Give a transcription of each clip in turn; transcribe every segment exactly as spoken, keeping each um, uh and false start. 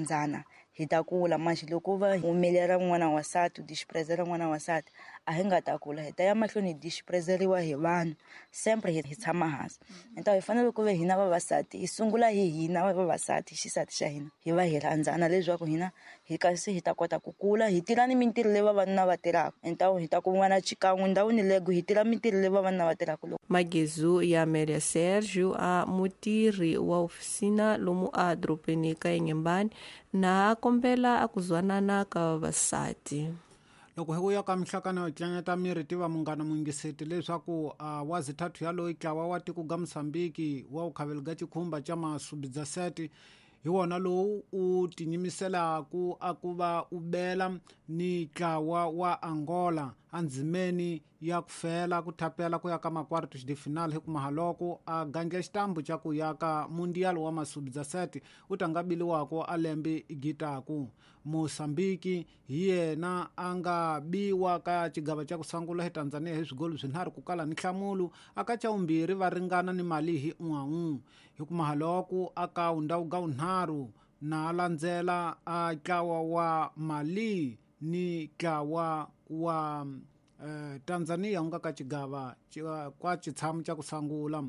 Rhandzana hi ta kula manje loko va humelela n'wana wa nsati u disprezela n'wana wa nsati a hi nga ta kula hi ta ya mahlweni hi disprezeriwa hi vanhu sempre hi tshama hansi. Enta hi fanele ku ve hina vavasati hi sungula hi hina vavasati xisati xa hina hi va hi rhandzana leswaku hina hi kasi hi ta kota ku kula hi tirha ni mintirho leyi vavanuna va tirhaka enta hi ta ku n'wana xikan'we ndhawini lego hi tirha mintirho leyi vavanuna va tirhaka loko. Magezu ya Amélia Sérgio a mutirhi wa ofisina lomu a dorobeni ka Inhambane na kombela a ku zwanana ka vavasati. Loko hi ku ya ka mihlakano yo tlanyata miri tiva munghana mungiseti leswaku uh, wa zithathu ya loyi tlawa wa tiko ga Mozambique wa u khavela ga chikhumba cha masubidza sete hi wona lowu u tinyimiselaku a ku va u bela ni tlawa wa Angola andzimeni ya ku fela ku thapela ku ya ka makwartos de final hi ku mahaloko a gandla xitambu xa ku ya ka mundial wa masubidza sete u ta nga biliwako a lembe gitaku. Mozambique hi yena a nga biwa ka xigava xa ku sungula hi Tanzania hi swigolo swinharhu ku kala ni nhlamulo aka xa vumbirhi va ringana ni mali hi un'we hi ku mahaloko aka undhawu ga vunharhu na landzela a tlawa wa Mali ni tlawa wa eh, Tanzania nga ka xigava kwa xitshamo xa ku sungula.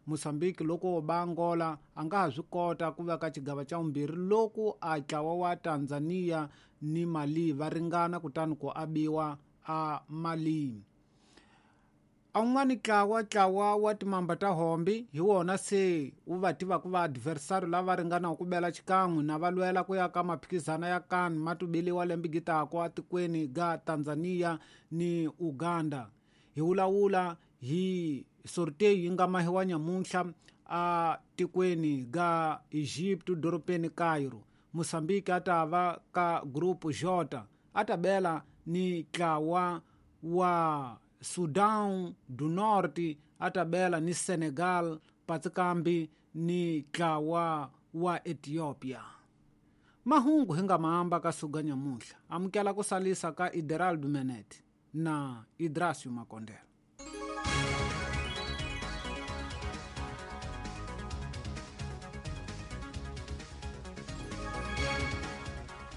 Mozambique loko ba Angola a nga ha swi kota ku va ka xigava xa vumbirhi loko a tlawa wa Tanzania ni Mali va ringana kutani ku abiwa a Mali. A un'wana tlawa tlawa wa timamba ta hombi hi wona se wu va tivaka va adversary lava ringanaka ku bela xikan'we na va lwela ku ya ka maphikizana ya kan ma tubiliwa lembe gitako atikweni ga Tanzania ni Uganda. Hi vulavula hi sorteio yi nga mahiwa nyamuntlha a tikweni ga Egypt dorobeni Cairo. Mozambique a ta va ka group J a ta bela ni tlawa wa Sudan do Norte a ta bela ni Senegal patsikambi ni tlawa wa Ethiopia. Mahungu hi nga mahamba ka suga nyamuntlha amukela ku salisa ka Ideraldo Menet na Idrasio Makondela.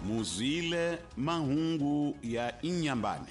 Muzwile mahungu ya Inhambane.